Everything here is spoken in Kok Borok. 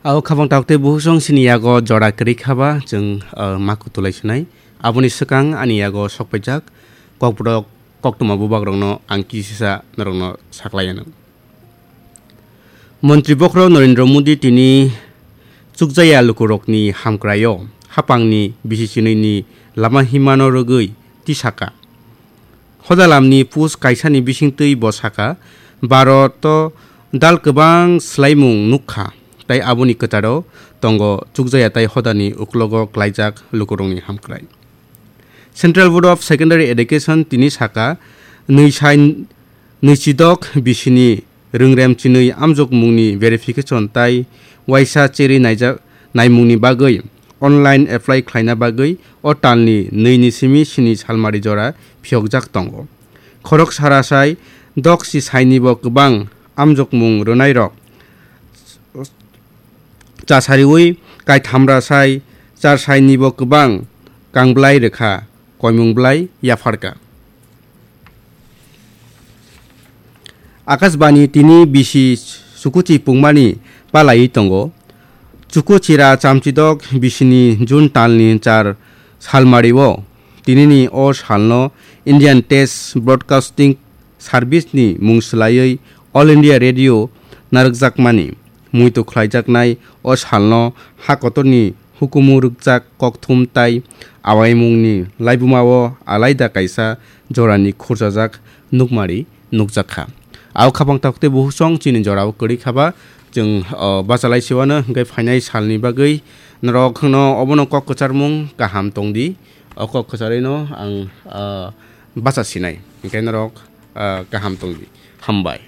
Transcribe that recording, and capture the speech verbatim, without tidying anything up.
Abo khabang tok tei buhusong sini yago jora kwrwi khaba chwng, ah, ma kutulai sinai. Aboni swkang ani yago sokpaijak kokborok koktwma bubagrokno ang kisisa norokno saklai anw. Montri bokhorok Narendra Modi tini chukjaya lukurokni hamkraio hapangni bisi chinwini lama himano rwgwi tisaka. Hodalamni post kaisani bisingtwi bo saka, Bharoto dal kwbang swlaimung nukha, tei aboni kwcharo tongo chukjaya tei hodani uklogo klaijak lukurokni hamkrai. Central Board of Secondary Education tini saka, nwi sai nwichidok bisini rwngrem chinwi amjokmungni verification tai waisa cherwi naijak naimungni bagwi online apply khlaina bagwi o talni nwi ni simi sini salmari jora phiyokjak tongo. Khorok sara sai dok si sainibo kwbang amjokmung rwnairok chasariwi kaithamra sai char sainibo kwbang kangblai rwkha, koimung blai yapharka. Akashbani tini bisi chukuchi pungmani palaiwi tongo. Chukuchira chamchidok bisini June talni char salmario tinini o salno Indian Test Broadcasting Service ni mung swlaiwi All India Radio narwkjakmani muitu khlaijaknai o salno ha kotorni hukumu rwkjak kokthum tai awaimungni laibumao alaida kaisa jorani khurchajak nukmari nukjakha. Ao khapang tok tei buhusong chini jorao kwrwi khaba chwng, o, bachalai siwano hwnkhe phainai salni bagwi norokno obono kok kwcharmung kaham tongdi. O kok kwcharwino ang, o, bacha sinai. Hwnkhe norok, o, kaham tongdi. Hambai.